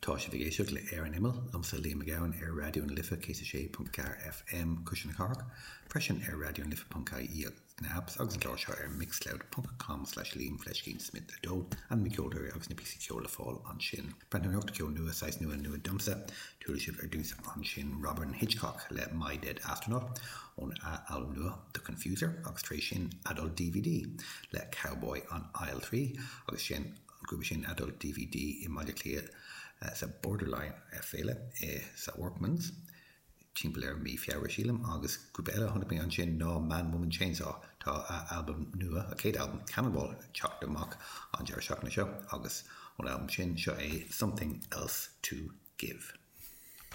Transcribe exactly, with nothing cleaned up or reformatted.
Tá sibh ag éisteacht le Ar an Imeall liomsa Liam Mac Gabhann ar Raidió na Life céad a sé ponc ceathair FM Cuisle na Cathrach, freisin ar Raidió na Life ponc ie na apps agus an clár seo ar mixcloud ponc com slash Liam fleiscín Smith a dó an na ceoltóirí agus na píosaí ceoil le fáil ansin. Breathnóireacht ceol nua saghas nua nua domsa, chuala sibh ar dtús ansin Robyn Hitchcock le My Dead Astronaut ón albam nua The Confuser agus tar éis sin Adult DVD le Cowboy on Aisle Three agus sin an grúpa sin Adult DVD i mBaile Átha Cliath sa Borderline féile sa Workman's timpeall ar mí Feabhra sílim agus grúpa eile chonaic mé ansin ná Man Woman Chainsaw tá albam nua a chéad albam Cannonball teacht amach an deireadh seachtaine seo agus ón albam sin seo é Something Else to Give.